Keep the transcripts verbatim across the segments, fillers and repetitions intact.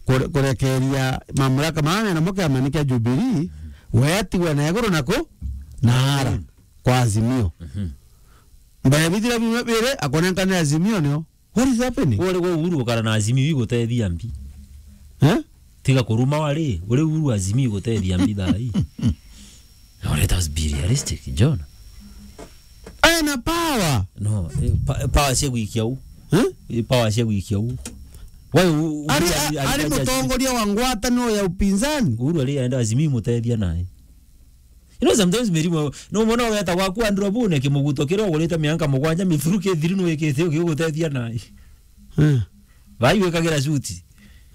kure-, kurekeria mamlaka mama mena moke amanikia Jubilee, wetigwe na iguru naku, na ara, kwa Azimio. Mhm. Mbere bithira bimwe biri, akonenkanira Azimio nio. What is happening? Uri gwe Uhuru ukara na Azimio igutethia mbi. Eh? Tiga kuruma wari, uri Uhuru Azimio igutethia mbi thaa ii. Now let us be realistic, John. Ena power. No, eh, pa-, power cia gwikia u. Eh? Eh, power cia gwikia u. Why u-, u-, Ari, ari, ari ari mutongoria wa ngwataniro ya upinzani. Uhuru ari aenda Azimio imutethia nae. You know, sometimes mirimu, no mwana weta gwaku Andrew Bune kimuguto kiria ugurite mianka mugwanja mithuru kithiri nu wikite ugigutethia nae. Eh. Vai wikagira suti.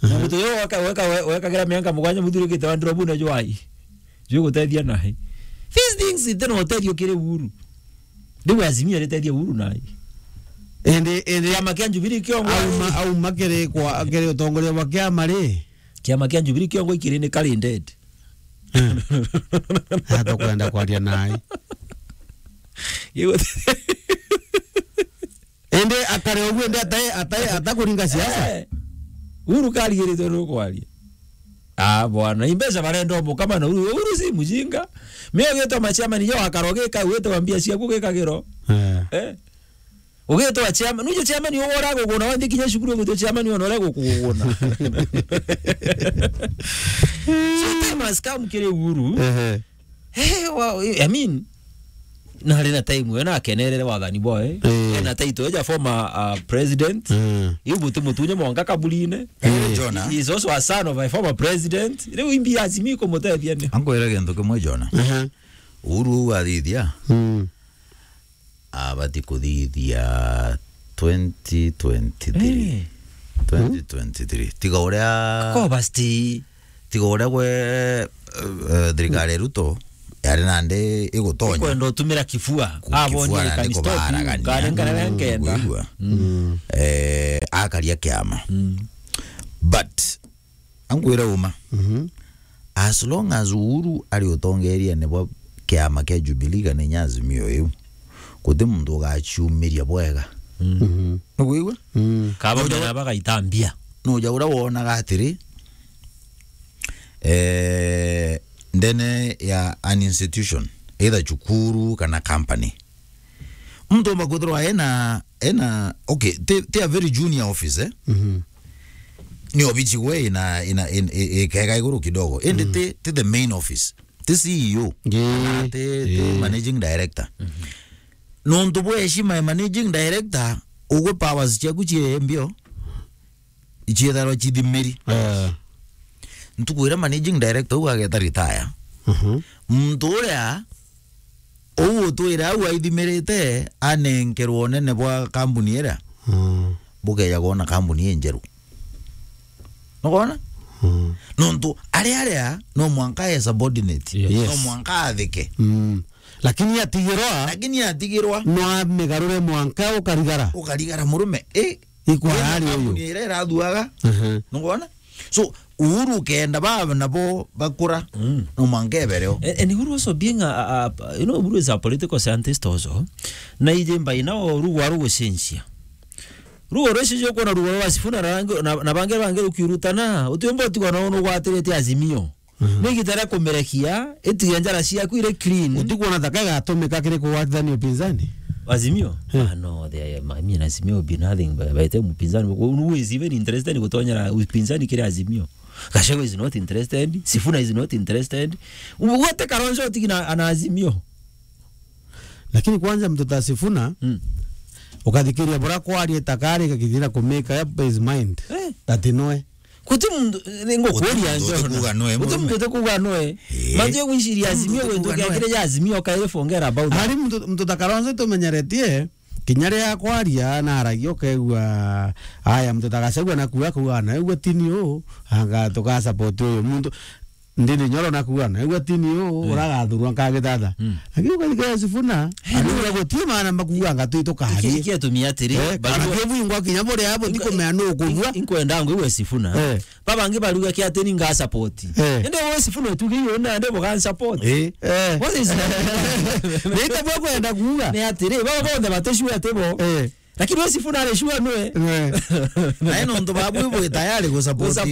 Aha. Muguto yo weka, weka, we-, wekagira mianka mugwanja mithuru kite Andrew Bune jwai. Jwi gutethia nae. These things ithe no utethio kiri Uhuru. Riu Azimio aritethia Uhuru nae. Indi, indi kiama kia Jubilee kiongo auma, auma kiri kwa, kiri utongoria bwa kiama ri? Kiama kia Jubilee kiongo ikiri ni kari dead. Eh. Atukwenda kwaria nae. Gigu-, indi akare uguo, indi atai, atai, atakuringa siasa. Eh. Uhuru karigiritwe ni ukwaria. Ah, bwana, imbeca barenda umukama na Uhuru. Uhuru si mujinga. Mimi ugitwa machairman yo akaro gika, ugitwa mbia ciaku gikagiro. Eh. Eh? Ugitwa chairman, nujo chairman ugo uraguguna, wathi kinya cukuru ugitwa chairman ona uraguguna. So time has come kiri Uhuru. Ehe. Eh, wa-, I mean, na ari na time we na akenerere wathani boe. Eh. Ena title ya former, uh, president. Eh. Iu buti mutunye mwanka kaburine. Eh, Jonah. He is also a son of a former president. Riu imbi Azimio kumutethia ni. Ankwira gintu kimwe, Jonah. Ehe. Uhuru uu athithia. Mm. Abati kuthithia twenty twenty-three. Eh. Twenty twenty-three. Tiga uria Kobasti. Tiga uria gwe, eh, eh, thirikari ya Ruto yari nandi igutonya. Ikwenda utumira kifua. Ku-, abonye kifua nandi can stop you, kubaaragania. Kare nkare nkenda. Kuigua? Mm. Eh, akaria kiama. Mm. But ankwira uma. Mhm. As long as Uhuru ari utongeriene bwa kiama kia Jubilee kana inya Azimio iu, guti muntu ugaciumiria bwega. Mm. Mhm. Nukwigua? Mm. Kaba Nuja mena bagaitambia. Nuja uria wonaga atiri, eh, ndene ya an institution, either cukuru kana company, muntu umba kwithirwa ena, ena, okay, ti, ti a very junior office, eh? Mhm. Ni obici gwe ina, ina, in-, i-, ikega iguru kidogo. Indi, mm, ti, ti the main office. Ti C E O. Ngi. Kana ti, ti, eh, managing director. Mhm. Nontu bwa heshima ya managing director, ugwe powers ciaku cie mbio, icietharwa cithimiri. Eh. Ntuku iria managing director uu ageta retire, mhm, muntu uria uu utwire au aithimirite anenkerwa unene bwa kambuni iria, mm, bukeja kwona kambuni injeru. Nukwona? Mm. Nontu aria, aria no mwanka e subordinate. Yes. Yes. No mwanka athike. Mm. Lakini atigirwa. Lakini atigirwa. No amigarure mwanka ukarigara. Ukarigara murume. Eh, ikwara ari uyu. Kambuni iria irathuaga. Mhm. Nukwona? So, Uhuru kenda baba nabo bakura, mm, no mwanka ebere o. And, and Uhuru also being a, a, a, you know, Uhuru is a political scientist also. Na ije mbai nao rugo arugucenjia. Rugo rwicijo kwona rugo rwa Sifuna na rangi, na, na bangi bangi rukiurutana, utiumba utigwa nao nugwatirite Azimio. Mhm. Ni igita ria kumerekia, itige njara ciaku iri clean. Utikwona thaka igatumika kiri kugwatithania upinzani? Azimio? Eh. Ah, no, they are, I mean, Azimio will be nothing by, by the time upinzani. Who is even interested in gutonyera upinzani kiri Azimio? Gachagua is not interested. Sifuna is not interested. Wote Kalonzo utigi na, ana Azimio. Lakini kwanza mtu ta Sifuna, mm, ukathikiria bura kwaria takari kakithira kumake up his mind. Eh. Ati noe. Guti muntu, ni ngukuria, guti muntu John, utikuuga noe, guti murume, muntu utikuuga noe. Eh. Mantu ya gwiciria Azimio, guti muntu utikuuga noe, gwintu kia kiri ya Azimio, kairi forget about that. Ari muntu, muntu ta Kalonzo tumenyeretie, kinya riria akwaria na aragia ukaigua, aya, muntu ta Gachagua nakuuga, akuuga, "Naigua tini uu, anga tuga support uyu." Muntu, ndini nyoro nakuuga, "Naigua tini uu, mm, uragathurwa nkagithatha." Mm. Lakini ukathikira Sifuna, eh, aniuga no, guti maana makuuga anga twi tukarie. Iki-, iki atumi atiri, eh, bari kana bo-, kibwingwa kinya buria abo, inko-, ndikumenya nu ukubua. Inkwenda ngwigua Sifuna. Eh. Babangi bariuga kia ati ni nga support. Eh. Indi we Sifuna utuge iyo nande buga support. Eh. Eh. What is that? Nita bwa kwenda kuuga. Ni atiri, baba bonthe batishua ati bo. Eh. Lakini we Sifuna ari sure nwe. Eh. Nae nontu babu ibo tayari gu support. Gu support.